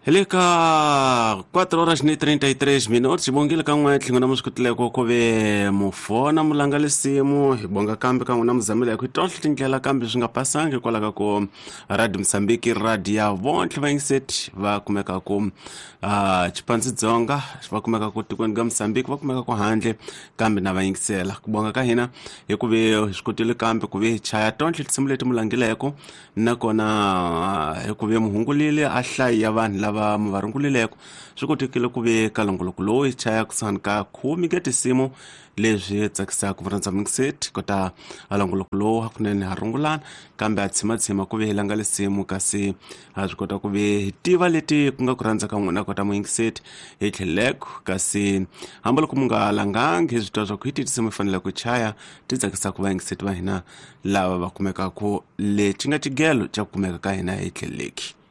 Hi le ka 4 horas ni 33 minutos xivongile ka n'we tlhingo na muswikutileko ku ve mufona mulanga lisimu hi bonga kambe ka n'wina muzamile hi ku tonhle tindlela kambe swi nga pasangi hikwalaho ka ku radio Mozambique radio ya vontlhe vayingiseti va kumeka ku Chipandzi Dzonga va kumeka ku tikweni ka Mozambique va kumeka ku handle kambe na va yingisela ku bonga ka hina hi ku ve hi swi kotile kambe ku ve hi chaya tontlhe tinsimu leti mu langileko nakona hi ku ve mu hungulile a hlayi ya vanhu lava mu va rungulileko swi kotekile ku ve ka longoloko lowu hi chaya kusuhani ka khume ka tinsimu leswi tsakisaka vurhandza mingiseti kota a longoloko lowu hakunene ha rungulana kambe a tshimatshima ku ve hi langa lisimu kasi ha swi kota ku ve hi tiva leti ku nga ku rhandza ka n'wina kota muyingiseti hi tlheleko kasi hambiloko mu nga langangi hi swi twa swa ku hi ti tinsimu hi fanele ku chaya ti tsakisaka vayingiseti va hina lava va kumekaka le xi nga xigelo xa ku kumeka ka hina hi tlheleki.